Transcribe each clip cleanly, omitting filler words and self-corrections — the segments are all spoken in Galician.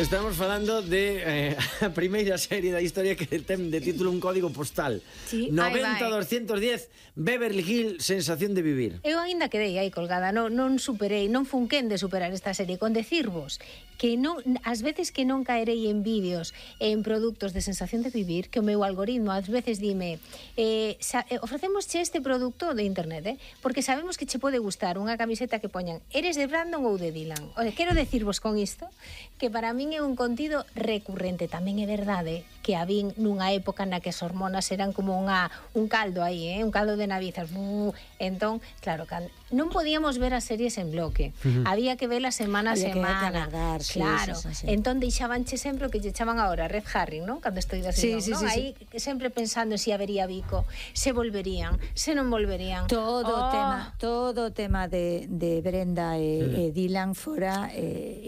Estamos falando de a primeira serie da historia que ten de título un código postal. Sí, 90-210 Beverly Hills, sensación de vivir. Eu ainda quedei aí colgada, non superei, non funquén de superar esta serie, con decirvos que non, ás veces que non caerei en vídeos e en produtos de sensación de vivir, que o meu algoritmo ás veces dime ofrecemosche este produto de internet, porque sabemos que che pode gustar unha camiseta que poñan eres de Brandon ou de Dylan. O sea, quero decirvos con isto que para min é un contido recurrente. Tamén é verdade que a vin nunha época na que as hormonas eran como un caldo aí, un caldo de navizas. Entón, claro, non podíamos ver as series en bloque. Había que verlas semana a semana. Claro, sí. Entón deixabanche sempre o que lle chaman agora Red Herring, non? Cando estou da sí, non? Aí sempre pensando se habería bico, se volverían, se non volverían. Todo o tema de Brenda e Dylan fora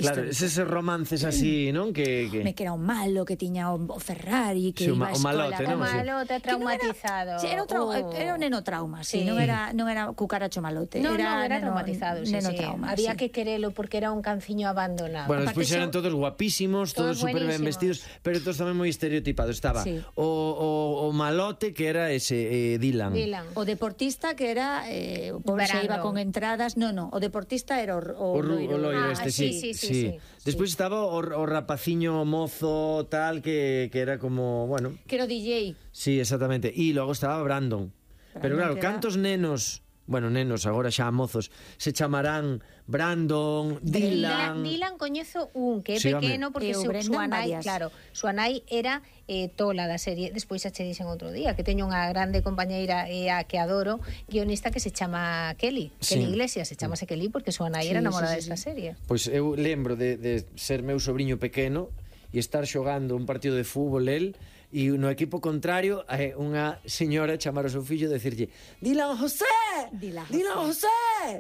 claro, eses romances así, non? Que era un malo que tiña o Ferrari, que iba a escola. O malote traumatizado. Era un neno trauma, sí. Non era cucaracho malote. Era traumatizado, sí. Había que querelo porque era un canciño abandonado. Bueno, despois eran todos guapísimos, todos super ben vestidos, pero todos tamén moi estereotipados. Estaba o malote, que era ese Dylan. O deportista, que era o pobre se iba con entradas. No, o deportista era o loiro este, sí. Despois estaba o rapaciño mozo tal, que era como, bueno, que era o DJ. Sí, exactamente. E logo estaba Brandon. Pero claro, cantos nenos, bueno, nenos, agora xa mozos, se chamarán Brandon, Dylan. Dylan coñezo un que é pequeno, porque súa nai, claro, súa nai era tola da serie. Despois xa che dixen outro día que teño unha grande compañeira a que adoro, guionista, que se chama Kelly Iglesias, se chamase Kelly porque súa nai era namorada desta serie. Pois eu lembro de ser meu sobrinho pequeno e estar xogando un partido de fútbol el, e no equipo contrario unha señora chamar ao seu fillo e decirlle Dylan José! Dylan José!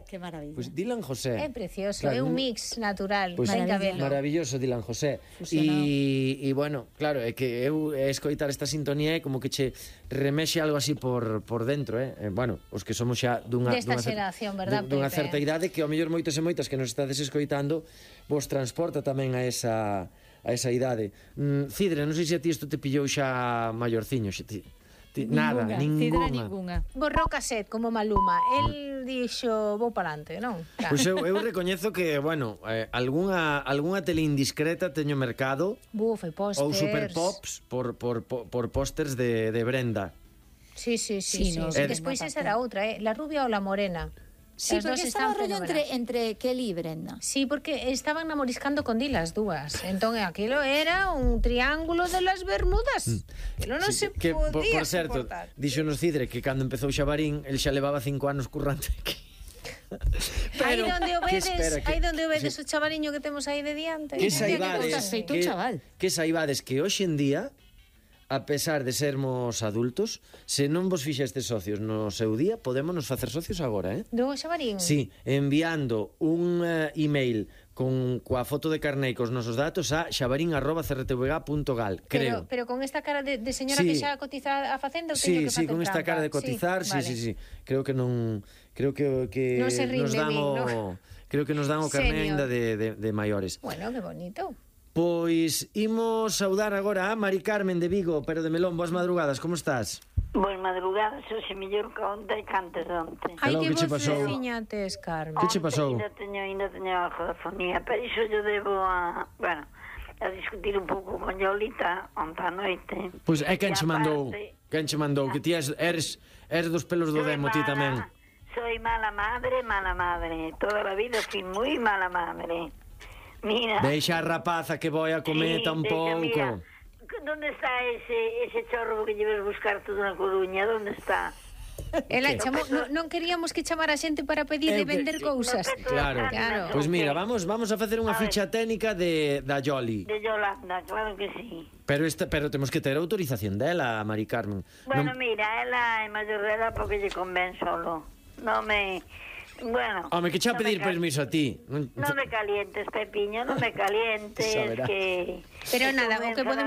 Que maravilla. Pois Dylan José. É precioso, claro, é un mix natural. Maravilloso Dylan José. E bueno, claro, é que eu escoitar esta sintonía é como que che remexe algo así por dentro, bueno, os que somos xa dunha xeración, verdad, dunha certa idade, que ao mellor moitos e moitas que nos estades escoitando vos transporta tamén a esa idade. Cidre, non sei se a ti isto te pillou xa maiorciño. Nada, ninguna. Borrou cassette como Maluma. El dixo, vou palante, non? Pois eu recoñezo que, bueno, algunha tele indiscreta teño mercado. Buf, e pósters. Ou superpops por pósters de Brenda. Sí. Despois esa era outra, la rubia ou la morena. Sí, porque estaba rollo entre Kelly e Brenda. Sí, porque estaban namoriscando con Dylan as dúas. Entón, aquilo era un triángulo de las Bermudas. Aquilo non se podía por certo, dixonos Cidre que cando empezou Xabarín, el xa levaba 5 anos currante aquí. Aí donde o vedes o chavaliño que temos aí de diante. Que saibades que hoxe en día, a pesar de sermos adultos, se non vos fixestes socios no seu día, podémonos facer socios agora, Do Xabarín? Sí, enviando un email coa foto de carné e cos nosos datos a xabarín@crtvg.gal, creo. Pero con esta cara de señora que xa cotiza a Facenda, ou teño que facer con esta cara de cotizar, sí. Creo que non... Creo que non se rinde creo que nos dan o carné ainda de maiores. Bueno, que bonito. Pois imos saudar agora a Mari Carmen de Vigo, pero de Melón. Boas madrugadas, como estás? Boas madrugadas, hoxe mellor que onte e cantes onte. Ai, que vos veciñates, Carmen. Que che pasou? Ainda teño a jodafonía, pero iso yo debo a discutir un pouco con Yolita onte a noite. Pois é quen che mandou, que ti eres dos pelos do demo, ti tamén. Soy mala madre, toda a vida fui moi mala madre. Mira. Deixa a rapaza que voi a cometa un pouco. ¿Dónde está ese chorro que lleves buscar tú na Coruña? ¿Dónde está? Non queríamos que chamara a xente para pedir e vender cousas. Claro. Pois mira, vamos a facer unha ficha técnica da Yoli. De Yolanda, claro que sí. Pero temos que ter autorización dela, Mari Carmen. Bueno, mira, ela é maior dela porque lle convén solo. Non me... Bueno, home, que xa pedir permiso a ti. Non me calientes, Pepiño, non me calientes. Que... Pero nada, o que podemos